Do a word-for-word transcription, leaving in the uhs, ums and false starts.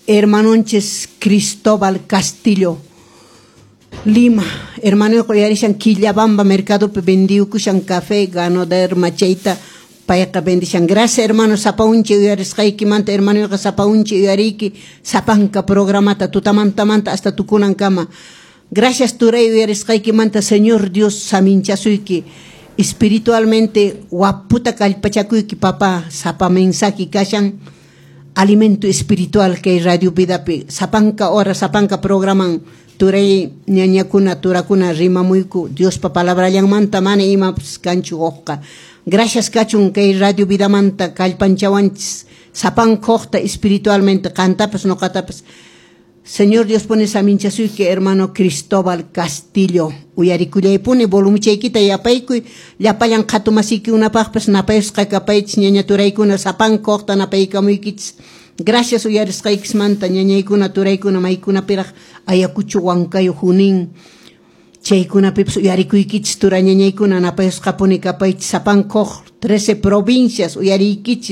Hermanonchis Cristóbal Castillo Lima, hermanoyqa uyarishan Quillabamba mercadopi vendiyukushan café Ganoderma chayta payqa vendishan. Gracias, hermano, sapa unchi uyarisqaykimanta. Hermanoyqa sapa unchi uyariyki sapanka programata tutamantamanta hasta tukunankama. Gracias, turay, uyarisqaykimanta. Señor Dios saminchasuyki espiritualmente, waputa kallpachakuyki, papá. Sapa mensaje kashan alimento espiritual kay Radio Vidapi, sapanka hora, sapanka programan turay, ñañakuna, turakuna rimamuyku Diospa palabrallanmanta, mana imapas kanchu hukqa. Gracias kachun kay Radio Vidamanta, kallpanchawanchis sapanka hukta espiritualmente, qantapas ñuqatapas. Señor Dios pone saminchasuyki, hermano Cristóbal Castillo. Uyarikullaypuni, volumichaykita yapaykuy. Llapallan qhatumasiykikunapaqpas napayusqa kapaychis, ñaña turaykuna, sapanka hukta napaykamuykichis. Gracias uyarisqaykismanta, ñañaykuna, turaykuna, maykunapiraq Ayacucho, Huancayo, Junín. Chaykunapipas uyarikuykichis, tura ñañaykuna, napayusqapuni kapaychis sapanka huk trece provincias uyariykichis.